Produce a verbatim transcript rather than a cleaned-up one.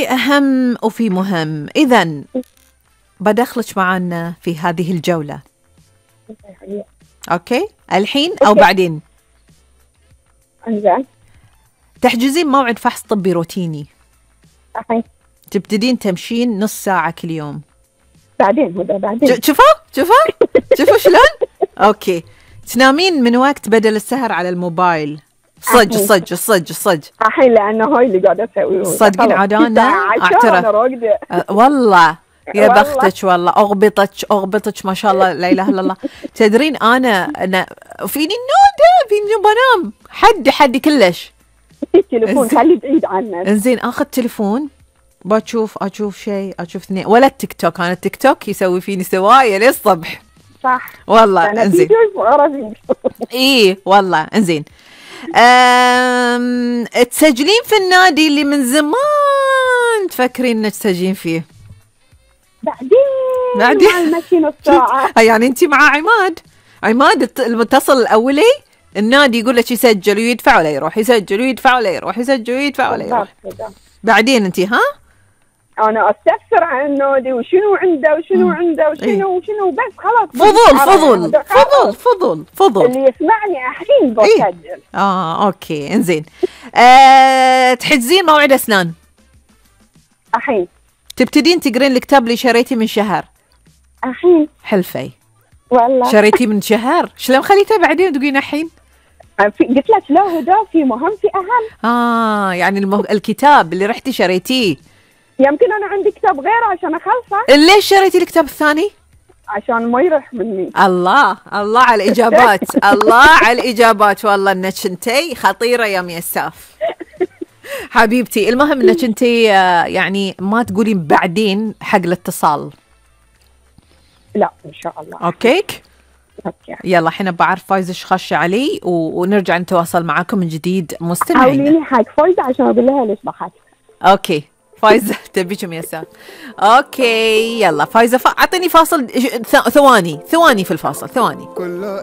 في أهم وفي مهم. إذن بدخلك معنا في هذه الجولة. أوكي الحين أو أوكي. بعدين؟ انزين. تحجزين موعد فحص طبي روتيني. الحين. تبتدين تمشين نص ساعة كل يوم. بعدين هدى بعدين. شوفوا شوفوا شوفوا شلون. أوكي. تنامين من وقت بدل السهر على الموبايل. صج صج صج صج. الحين لأنه هاي اللي قاعدة أسويه. صدقين عاد أنا أعترف أه والله يا بختك والله. أغبطك أغبطك ما شاء الله لا إله إلا الله. تدرين أنا أنا فيني النودة فيني بنام حدي حدي كلش. التليفون خلي بعيد عنه. إنزين آخذ تليفون بشوف أشوف شيء أشوف اثنين ولا التيك توك. أنا التيك توك يسوي فيني سوايا للصبح. صح والله. إنزين إيه والله. إنزين أم... تسجلين في النادي اللي من زمان تفكرين انك تسجلين فيه؟ بعدين بعدين مع المشي نص ساعة. يعني انت مع عماد عماد المتصل الاولي النادي يقول لك يسجل ويدفع ولا يروح، يسجل ويدفع ولا يروح، يسجل ويدفع ولا يروح. بعدين انت ها انا استفسر عن النادي وشنو عنده وشنو عنده وشنو وشنو بس خلاص. فضول فضول فضول فضول فضول. اللي يسمعني الحين بسجل. إيه؟ اه اوكي انزين. آه، تحجزين موعد اسنان الحين. تبتدين تقرين الكتاب اللي شريتي من شهر الحين. حلفي والله شريتي من شهر شلون خليته بعدين تقولين الحين؟ قلت لك لا هدى في مهم في اهم. اه يعني المه... الكتاب اللي رحتي شريتيه يمكن انا عندي كتاب غيره عشان اخلصه. ليش شريتي الكتاب الثاني؟ عشان ما يروح مني. الله الله على الاجابات. الله على الاجابات والله انك انتي خطيره يا ميساف حبيبتي. المهم انك انتي يعني ما تقولين بعدين حق الاتصال. لا ان شاء الله. اوكي اوكي يلا الحين بعرف فايزه ايش خشه علي و... ونرجع نتواصل معاكم من جديد مستمعين. حاوليني حق فايزه عشان اقول لها ليش ضحكت. اوكي فايزه تبيكم يسار. اوكي يلا فايزه ف... اعطيني فاصل ثواني ثواني في الفاصل ثواني.